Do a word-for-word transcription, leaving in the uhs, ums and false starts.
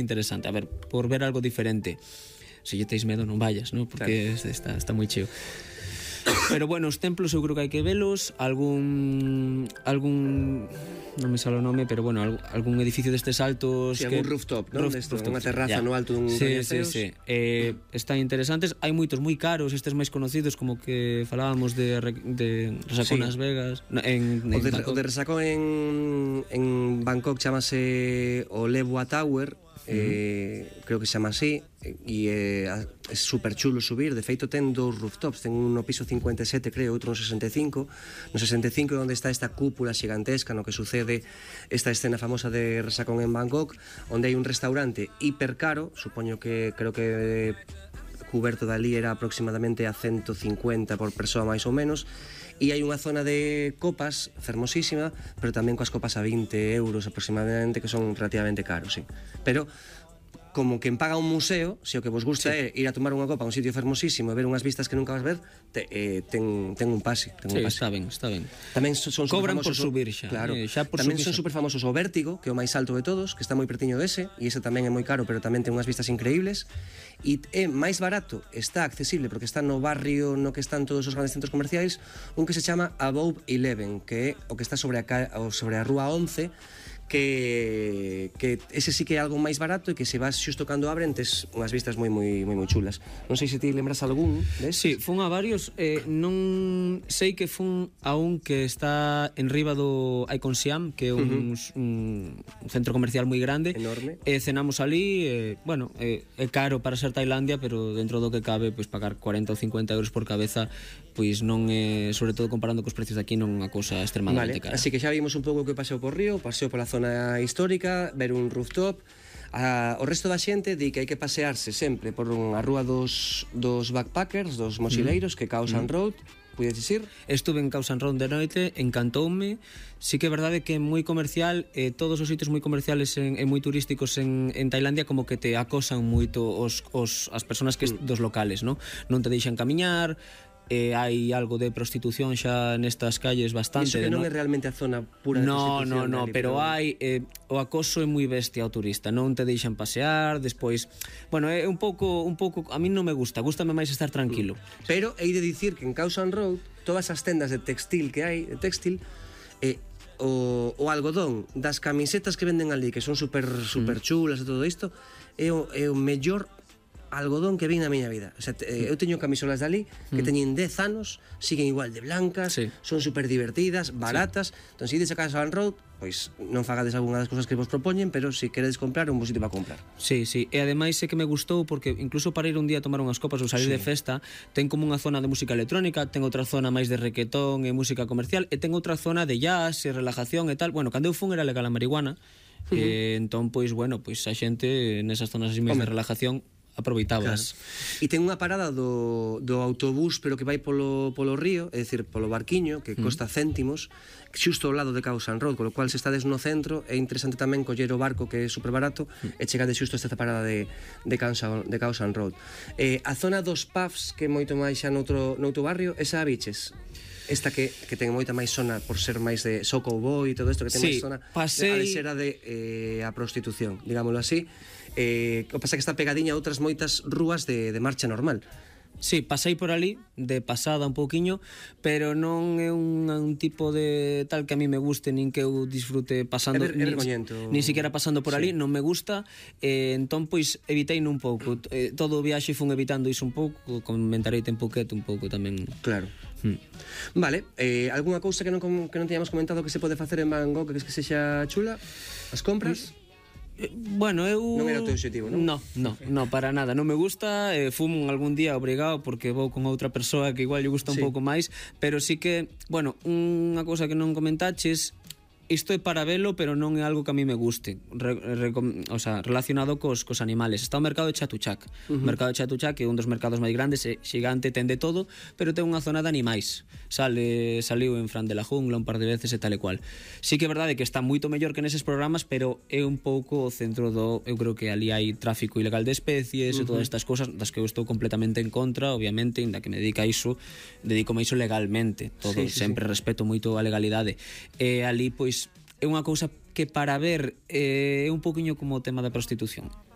interesante, a ver, por ver algo diferente. Se lle teis medo non vayas, ¿no? Porque claro, está, está moi cheo. Pero bueno, os templos eu creo que hai que velos. Algún algún non me sale o nome, pero bueno, algún edificio destes altos, sí, que algún rooftop, non? Roof, Desto, unha terraza ya. No alto dun sí, sí, sí. Eh, están interesantes. Hai moitos moi caros, estes máis conocidos, como que falábamos de, de Resacón nas sí. Vegas, en, en o, de, o de Resacón en, en Bangkok chamase o Lewa Tower. Eh, uh-huh. Creo que se chama así e eh, é super chulo subir. De feito ten dous rooftops, ten un no piso cincuenta e sete, creo, outro no sesenta e cinco. No sesenta e cinco é onde está esta cúpula xigantesca no que sucede esta escena famosa de Resacón en Bangkok, onde hai un restaurante hiper caro, supoño que creo que cuberto dali era aproximadamente a ciento cincuenta por persoa máis ou menos. E hai unha zona de copas fermosísima, pero tamén coas copas a vinte euros aproximadamente, que son relativamente caros, sí. Pero como quen paga un museo, se o que vos gusta sí. é ir a tomar unha copa a un sitio fermosísimo e ver unhas vistas que nunca vas ver, te, eh, ten, ten un pase, ten sí, un pase. Está ben, está ben. Tamén son, son cobran por famosos, subir xa, claro. eh, xa por tamén subir son xa. super famosos o Vértigo, que é o máis alto de todos, que está moi pertiño dese, e ese tamén é moi caro, pero tamén ten unhas vistas increíbles. E é máis barato, está accesible porque está no barrio no que están todos os grandes centros comerciais, un que se chama Above Eleven, que é o que está sobre a, sobre a rúa once, que, que ese sí que é algo máis barato e que se vas xusto cando abren tes unhas vistas moi moi moi moi chulas. Non sei se ti lembras algún deses. Sí, fun a varios, eh, non sei que fun a un que está en riba do Icon Siam, que é un, uh-huh. un, un centro comercial moi grande. Enorme. E eh, cenamos ali, eh, bueno, eh, é caro para ser Tailandia, pero dentro do que cabe, pois pagar cuarenta ou cincuenta euros por cabeza, pois non é, sobre todo comparando cos precios de aquí, non é unha cousa extremadamente vale. cara. Así que xa vimos un pouco o que paseo por Río, paseo pola zona histórica, ver un rooftop. A, o resto da xente di que hai que pasearse sempre por unha rúa dos, dos backpackers, dos mochileiros, mm. que Khao San Road. Puides dicir? Estuve en Khao San Road de noite, encantoume. Sí que é verdade que é moi comercial, eh, todos os sitios moi comerciales e moi turísticos en, en Tailandia como que te acosan moito os, os, as persoas que mm. dos locales, ¿no? Non te deixan camiñar. Eh, hai algo de prostitución xa nestas calles bastante. Iso que non no... é realmente a zona pura de no, prostitución. No, no, no, pero, pero hai eh, o acoso é moi bestia ao turista, non te deixan pasear, despois, bueno, é un pouco un pouco a mí non me gusta, gústame máis estar tranquilo. Pero hei de dicir que en Khao San Road todas as tendas de textil que hai, de textil, eh, o, o algodón das camisetas que venden ali, que son super super chulas e todo isto, é o, é o mellor algodón que vi na miña vida. O sea, te, eh, eu teño camisolas dali que mm. teñen dez anos, siguen igual de blancas, sí. son super divertidas, baratas. Sí. Entón, se ides a Khao San Road, pois non fagades algunha das cousas que vos propoñen, pero se queredes comprar, un bo sitio para comprar. Sí, sí, e ademais sei que me gustou porque incluso para ir un día a tomar unhas copas ou salir sí. de festa, ten como unha zona de música electrónica, ten outra zona máis de requetón e música comercial, e ten outra zona de jazz e relajación e tal. Bueno, cando eu fun era legal a marihuana, uh -huh. e entón, pois, bueno, pois a xente nesas zonas así máis de relajación aproveitabas. Claro. E ten unha parada do, do autobús, pero que vai polo, polo río, é dicir, polo barquiño, que costa mm. céntimos, xusto ao lado de Khao San Road, con lo cual se estades no centro é interesante tamén coller o barco, que é super barato, mm. e chegades xusto a esta parada de, de, Khao San, de Khao San Road. Eh, a zona dos pubs, que é moito máis xa noutro, noutro barrio, esa a biches? Esta que, que ten moita máis zona por ser máis de Soko Boy e todo isto, que ten sí, máis zona pasei... de, a de ser a de eh, a prostitución, digámoslo así. Eh, o que pasa que está pegadiña a outras moitas rúas de, de marcha normal. Sí, pasei por ali, de pasada un pouquiño, pero non é un, un tipo de tal que a mí me guste, nin que eu disfrute pasando, é, ver, é vergoñento. Nin, nin siquiera pasando por sí. ali, non me gusta, eh, entón, pois, evitei un pouco. Eh, todo o viaxe fun evitando iso un pouco, comentarei un pouqueto un pouco tamén. Claro. Hmm. Vale, eh, algunha cousa que non, que non teñamos comentado que se pode facer en Bangkok, que es que sexa chula? As compras? Pues, bueno, eu... Non era o teu objetivo, non? No, no, no, para nada. Non me gusta, eh, fumo algún día obrigado porque vou con outra persoa que igual lle gusta un sí. pouco máis, pero sí que, bueno, unha cousa que non comentaches, isto é para velo, pero non é algo que a mí me guste, re, re, o sea, relacionado cos, cos animales. Está o mercado de Chatuchak. Uh -huh. O mercado de Chatuchak é un dos mercados máis grandes, é xigante, ten de todo, pero ten unha zona de animais. Sale, saliu en Fran de la Jungla un par de veces e tal e cual. Sí que é verdade que está moito mellor que neses programas, pero é un pouco o centro do... Eu creo que ali hai tráfico ilegal de especies uh -huh. e todas estas cousas das que eu estou completamente en contra, obviamente, inda que me dedica a iso, dedícome a iso legalmente. Todo, sí, sí, sempre sí. respeto moito a legalidade. E ali, pois, é unha cousa que para ver eh, é un poquinho como o tema da prostitución.